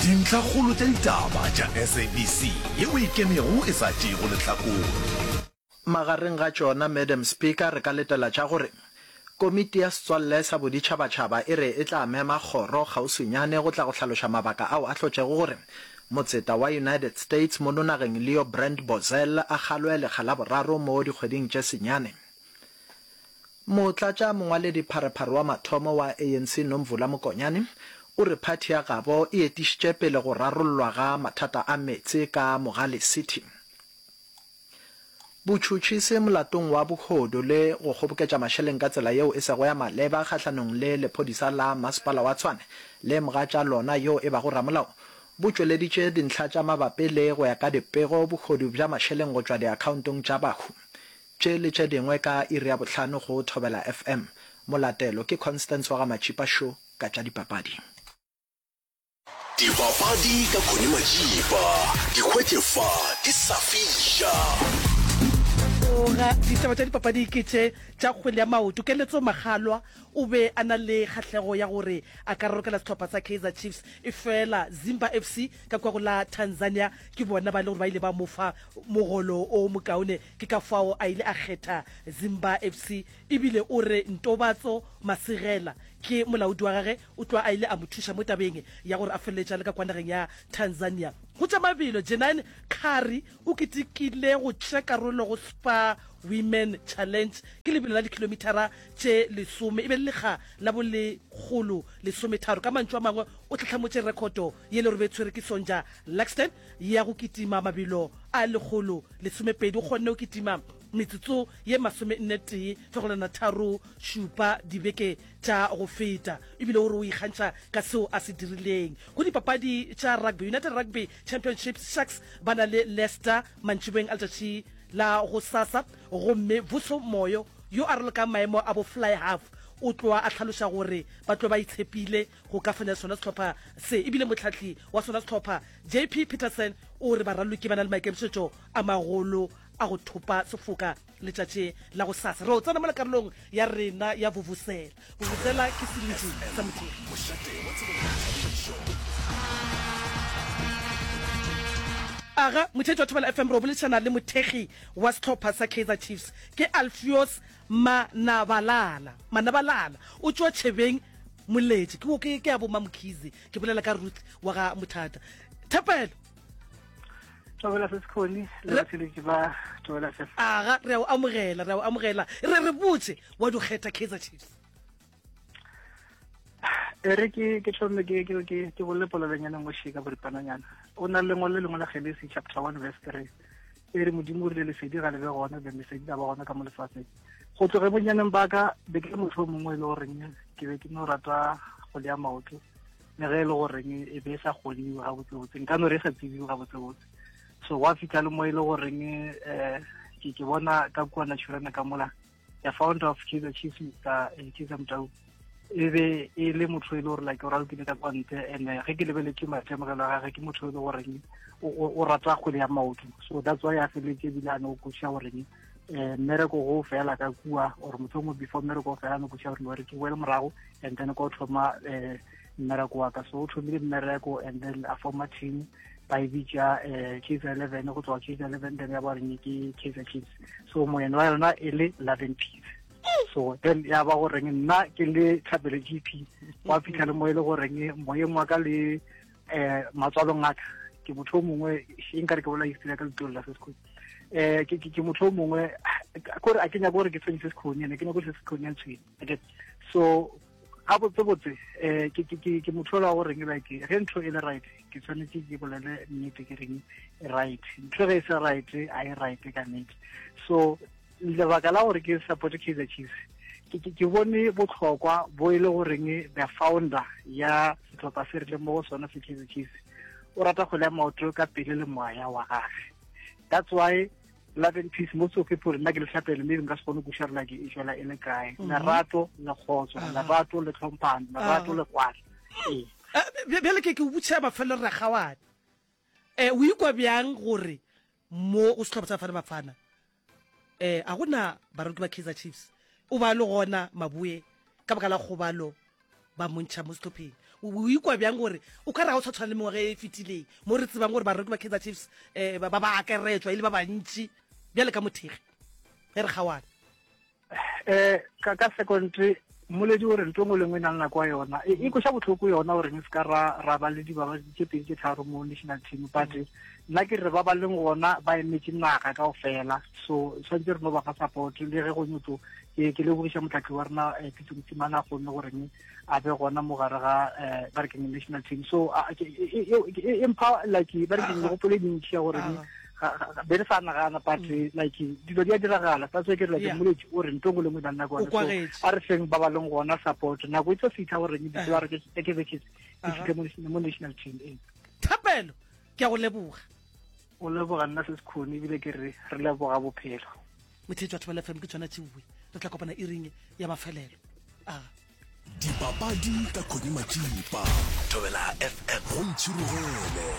Dintlhakgolo tša ditaba tša SABC yeo e ikemego e sa tšeego lehlakore. Magareng ga tšona, Madam Speaker, re ka letela tša gore Komiti ya Setswalle sa Boditšhabatšhaba e re e tla mema kgoro kgauswinyane go tla go hlaloša mabaka ao a hlotšego gore motseta wa United States mono nageng Leo Brand Bozell a kgalwe lekga la boraro mo dikgweding tše senyane. Motlatša mongwaledipharephare wa mathomo wa ANC Nomvula Mokonyane o re phathi ya gabo e etišitše pele go rarollwa ga mathata a meetse ka Mogale City. Botšhotšhisi molatong wa bohodu le go kgoboketša mašeleng ka tsela yeo e sego ya maleba kgahlanong le lephodisa la Masepala wa Tshwane le mogatša lona yo e bago ramolao bo tšweleditše dintlha tša mabapi le go ya ka dipego bohodu bja mašeleng go tšwa diakhaontong tša bahu. Tše le tše dingwe ka iri ya bohlano go Thobela FM. Molatelo ke Constance wa ga Matšipa Show ka tša dipapadi. Dipapadi ka Connie Majiba, di hwetše fa di sa fiša. Tloga, ditaba tša dipapadi ke tše tša kgwele ya maoto. Keletso Makgalwa o be a na le kgahlego ya gore a ka ralokela sehlopha sa Kaizer Chiefs, efela Zimba FC ka kua go la Tanzania ke bona ba e le gore ba ile ba mo fa mogolo o mokaone, ke ka fao a ile a kgetha Zimba FC. Ebile o re Ntobatso Masigela ke molaodi wa gage, o tloga a ile a mo thuša mo tabeng ya gore a feleletše a le ka kwa nageng ya Tanzania. Go tša mabelo, Jeanine Curry o ketekile go tšea karolo go Spar Women Challenge, ke lebelo la dikhilomithara tše lesome, e be le lekga la bo lekgolo lesometharo. Ka mantšu a mangwe, o hlahlamotše rekhoto ye le gore be e tshwere ke Sonja Luxton ya go kitima mabelo a lekgolo lesomepedi. O kgonne go kitima metsotso ye masomennetee fegelwana tharo šupa dibeke tša go feta, ebile o re o ikgantšha ka seo a se dirileng. Go dipapadi tša rugby, United Rugby Championships, Sharks ba na le Leicester mantšiboeng a letšatši la gosasa, gomme Vuso Moyo yo a ralokang maemo a bo fly half o tloa a hlaloša gore ba tlo ba itshepile go ka fenya sona sehlopha se, ebile mohlahli wa sona sehlopha JP Petersen o re baraloki ba na le maikemišetšo a magolo a go thopa sefoka letšatši la go sasa. Re o tsena mola karolong ya rena ya Vuvuzela. Vuvuzela ke seletši sa mothekgi. Aga, motheetši wa Thobela FM, re o boledišana le mothekgi wa sehlopha sa Kaizer Chiefs, ke Alfios Manabalala. Manabalala o tšwa Tšhebeng Moletši. Ke, ke, ke ya bo Mamkhize. Ke bolela ka Ruth wa ga Mothata. Thapelo. Thobela se sekhoni le batheletši ba Thobela FM. Aga, re a o amogela, re a o amogela. Re re botse wa di kgetha Kaizer Chiefs. E re ke ke thome ke ke ke ke bolele polelonyana mo shika boripananyana. O na le lengwalo le lengwe la Genesi chapter 1 verse 3. E re Modimo o rile lesedi ga le be gona, be lesedi la ba gona ka mo lefatsheng. Go tloge bonyaneng ba ka be ke le motho o mongwe e le goreng ke be ke no rata go lea maoto. Le ge e le goreng e be e sa kgoniwe gabotsebotse, nka no re e sa tsebiwe gabotsebotse. So gwa fitlha le mo e le goreng um ke ke bona ka kua Naturena ka mola, the founder of Kaizer Chiefs, Mr Kaizer Motau, e be e le motho e le gore like o ralokile ka kwa ntle, and ge ke lebeletse maitemogelo a gage ke motho e le goreng o rata kgwele ya maoto. So that's why a feleletse ebile a ne o kwešiša goreng um mmereko go fela ka kua, or motho mongwe before mmereko o fela no kwešiša gore no re ke boele morago and then ko thoma um mmereko wa ka. So o thomile mmereko and then a forma team ba e bitša um Kaizer 11, go tloga Kaizer 11 then ya ba reng ke Kaizer Chiefs. So moeno wa yona e le Love and Peace. So then ya ba goreng nna ke le Thapelo GP, wa fitlha le mo e le goreng moyeng wa ka le um matswalong a ka ke motho o mongwe, e nkare ke bola history ya ka letlole la se sekhoni. Ke motho o mongwe kore a ke nyako gore ke tshwenye se sekhoni, ene ke nyako se sekhoni ya ntshwenye. Okay. So gabotsebotse um ke motho ola goreng like ge ntho e le right ke tshwanetse ke bolele nnete ke reng right, ntho ge e se right a e right ka nnete. So lebaka la gore ke support Kaizer Chiefs, ke bone botlhokwa bo e le goreng the founder ya setlhopha se re leng mo go sona se Kaizer Chiefs o rata kgwele ya maoto ka pele le moya wa gage. That's why love and peace most of people nna ke le tlhapele maybe nka se kgone go kuša like e tšwela e le kae. Lerato le kgotso, lerato le tlhomphano, lerato le kwano. Ee. Bjale ke ke o botšiša mafelelo re kgaoane. O ikwa bjang gore mo go sehlopha sa Bafana Bafana eh a gona baraloki ba Kaizer Chiefs o ba le gona Maboe ka baka la kgobalo ba montšha mo sehlopheng? O ikwa bjang gore o ka re ga o sa tshwana le mengwaga e fetileng mo re tsebang gore bareki ba Kaizer Chiefs um ba ba akaretšwa e le ba bantši bjale ka mothekgi ge re kgaoana? Um ka ka second mmoledi o re ntho engwe le nngwe e na le nako ya yona. E, e kweša bohloko yona gore re se ka ra ra ba le dibaba tše pedi tše tharo mo national team, but nna ke re ba ba leng gona ba emetše naga kaofela, so tshwanetse re no ba fa support le ge go nyotlo. Ke ke lebogiša motlhatli wa rena eh, Pitso Mosimane a kgonne goreng a be gona mo gare ga eh, ba re keng national team. So e, e, e mpha like ba re keng megopolo e mentši ya goreng be re sa nagana, but mm. like dilo di a diragala. That's why ke re like mmoledi o re ntho engwe le nngwe e na le nako yona. So a re feng ba ba leng gona support, nako e tlo fitlha goreng dipolaro tse Kaizer Chiefs di fitlhe mo national team. Ee. Thapelo, ke a go leboga. O leboga nna se sekhone, ebile ke re re leboga bophelo. Motheetši wa Thobela FM ke tšona tšeoe re tla kopana iring ya mafelelo a. Dipapadi ka Connie Matšipa. Thobela FM. Go ntšhirogele.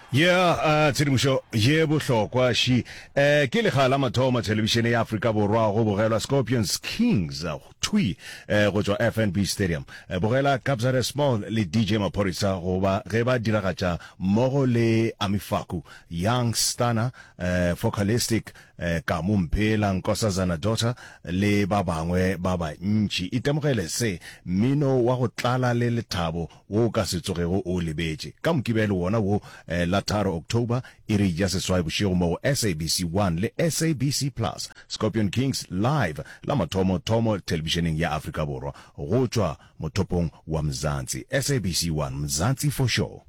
Yeah, uh, tshedimošo ye bohlokwa ši. Eh, ke lekga la mathomo thelebišene ya Afrika Borwa go bogelwa Scorpions Kings thwi eh, go tšwa FNB Stadium. Eh, bogela Kabza De Small le DJ Maphorisa go ba ge ba diragatša mmogo le Ami Faku, Young Stunna, eh, Focalistic, eh, Kamo Mphela, Nkosazana Daughter le ba bangwe ba bantši. Itemogele se, mmino wa go tlala le lethabo wo o ka se tsogego o o lebetše. Ka Mokibelo wona wo, eh, la tharo October, iri ya seswai bošego mo go SABC 1 le SABC Plus, Scorpion Kings Live, la mathomo thomo thelebišeneng ya Afrika Borwa, go tšwa mothopong wa Mzansi. SABC 1, Mzansi for sure.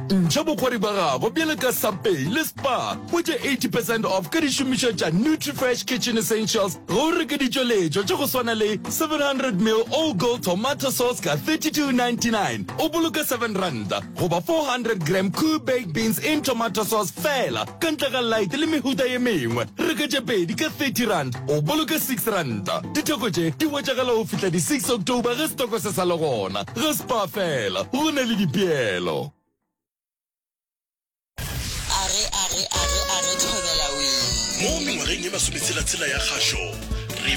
Ntšha bokgwari bja gago bjalo ka Subway le Spar o tše 80 percent off ka dišomišwa tša Nutrifresh Kitchen Essentials ge o reka ditšweletšwa tša go swana le 700 ml All Gold Tomato Sauce ka 32.99 o boloka 7 ranta goba 400 gram Koo Baked Beans in Tomato Sauce feela ka ntle ga light le mehuta ye mengwe. Reka tše pedi ka 30 rand o boloka 6 ranta. Ditheko tše di hwetšagala go fihla di 6 October ge setoko se sa le gona. Ga Spar fela, go na le dipeelo. Are, are, are, are, thobela wee. Mo mengwageng ye masometshela-tshela ya kgašo.